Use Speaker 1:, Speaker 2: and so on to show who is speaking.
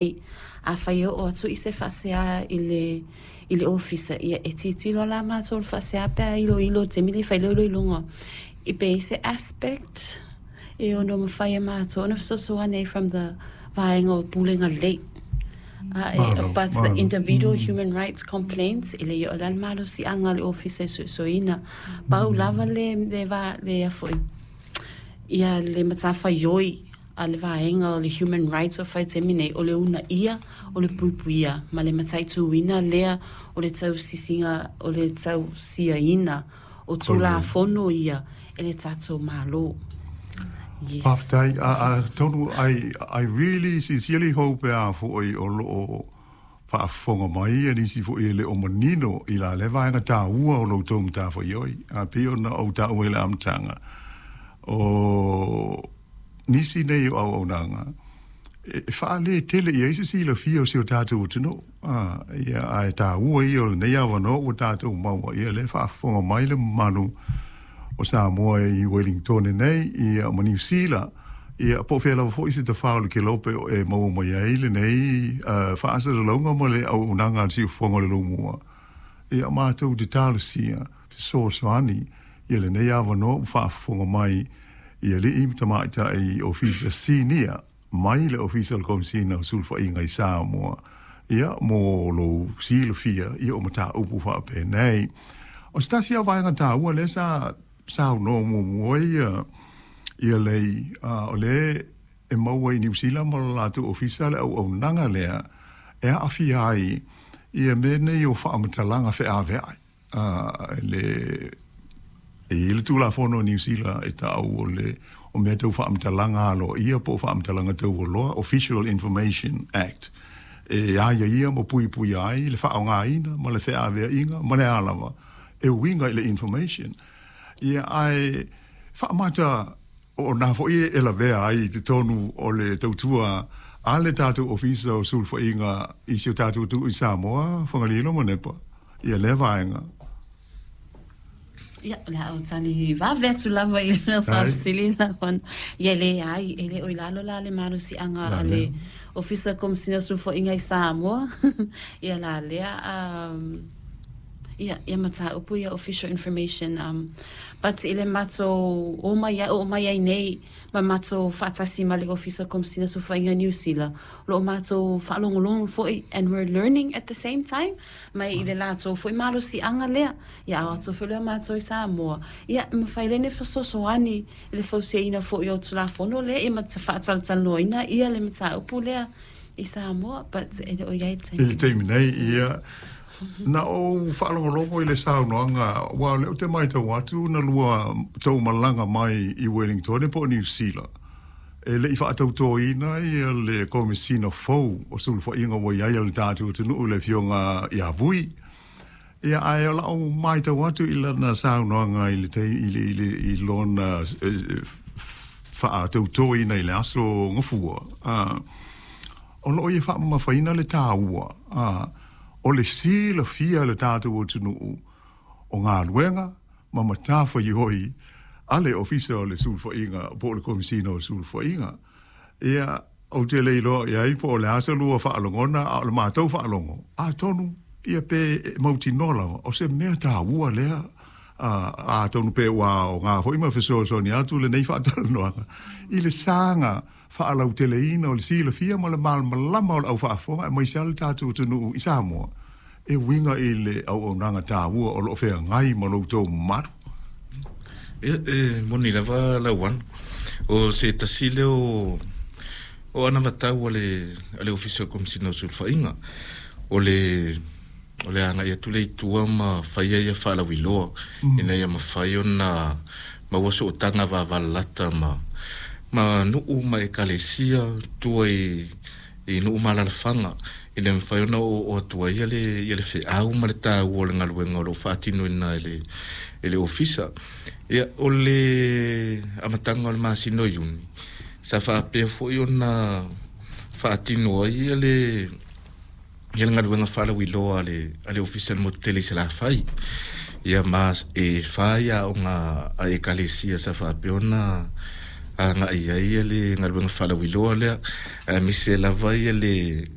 Speaker 1: Afai e oo atu i se faasea i le i le ofisa, ia e tilotilo la matou i le faasea pe a iloilo i le taimi lea e fai ai le iloiloga i pe i ai se aspect e ono mafai e matou ona fesoasoani ai from the vaega o pulega lelei. But the individual human rights complaints, e le i oo la le malosiaga a le ofisa e suesueina. Pau lava le le va le foi ia le matafaioi a le vaega o le human rights o fai taimi nei, o le uunaia o le puipuia ma le mataituina lea o le tausisiga o le tausiaina o Tulafono ia e le tatou Malo. Yes.
Speaker 2: Faafetai. Atonu, I really sincerely hope e a foi o lo o faafofoga mai ia nisi foi e le o manino i la le vaega taua o lo outou matafaioi. A pei ona ou taua i le amataga, o nisi nei o auaunaga e faaletele i ai se silafia o si o tatou atunuu. Ia, ae taua ia o lenei avanoa ua tatou maua, ia lea e faafofoga mai le mamalu o Samoa i Wellington nei, ia ma Niu Sila, ia po o fea lava foi se tafā o le kelope o e maua mai ai lenei faasalalauga ma le auaunaga a le Siufofoga o le Lomua. Ia matou te talosia fesoasoani ia lenei avanoa ua faafofoga mai i alii ma tamaitai ofisa sinia mai le Ofisa o le Komesina o Sulufaiga i Samoa, ia, mo lou silafia, ia, o mataupu faapenei. O se tasi lava o vaega taua lea sa saunoa muamua ia ia lei, o lea e maua i Niu Sila ma lo latou ofisa le auaunaga lea e aafia ai ia mea nei o faamatalaga feaveai. Le e i ai le Tulafono a Niu Sila e ta'u o le o mea tau faamatalaga aloaia po o faamatalaga taualoa, Official Information Act, e aiaia ma puipuia ai le faaaogaina ma le feaveaiga ma le a lava e uiga i le information. Ia, ae faamata o nā foi e lavea ai i totonu o le tautua a le tatou Ofisa o Sulufaiga i si o tatou atunuu i Samoa, Fagalilo ma Nepa, ia lea vaega.
Speaker 1: Ia, o le a ou tali vave atu lava i le faafesili lau. Ia, leai, e le o i lalo la le malosiaga a le Ofisa Komesina o Sulufaiga i Samoa. Ia la lea, ia, ia mataupu ia official information. But i le matou o mai, oo mai ai nei ma matou faatasi ma le Ofisa Komesina o Sulufaiga i Niu Sila, o lo o matou faalogologo foi and we're learning at the same time mai i le latou foi malosiaga lea. Ia, a o atu foi lea o matou i Samoa, ia, e mafai lea ona fesoasoani i le fausiaina foi o Tulafono lea, ia ma faatalatalanoaina ia le mataupu lea i Samoa, but e le o i ai i le taimi
Speaker 2: I le taimi nei, ia, na ou faalogologo i le saunoaga, aua o lea ou te matau atu na lua tou malaga mai i Wellington po o Niu Sila, e le i faatautoina ia le Komesina fou o Sulufaiga ua i ai a le tatou atunuu, le Afioga ia Vui. Ia, ae o lau matau atu i lana saunoaga i le i le i le i lona faatautoina i le aso Gafua, o lo o ia faamamafaina le taua o le silafia e le tatou atunuu o galuega ma matafaioi a le Ofisa o le Sulufaiga po o le Komesina o Sulufaiga. Ia, ou te le iloa i ai po o le a sa lua faalogona, a o le matou faalogo, atonu, ia pe mautinoa lava, o se mea taua lea, atonu pe ua aoga foi ma fesoasoani atu lenei faatalanoaga i le saga faalauteleina o le silafia ma le malamalama o le au faafofoga aemaise lava le tatou atunuu i Samoa e uiga i le auaunaga taua o lo o feagai ma lo outou mamalu.
Speaker 3: Ia, e moni lava Lauano, o se tasi lea o o anavatau a le a le Ofisa o le Komesina o Sulufaiga, o le o le agai atu lea i tua ma faia ia faalauiloa ina ia mafai ona maua sootaga vavalalata ma ma nuu ma ekalesia tua i i nuu ma alaalafaga, ina ia mafai ona oooo atu ai le ia le feau ma le taua o le galuega o lo o faatinoina e le e le Ofisa. Ia, o le amataga o le masina o Iuni, sa faapea foi ona faatino ai ia le ia le galuega faalauiloa a le a le Ofisa i le motu tele i Salafai. Ia ma e fa ia aoga a ekalesia sa faapea ona agai ai le galuega faalauiloa lea, aemaise lava ia le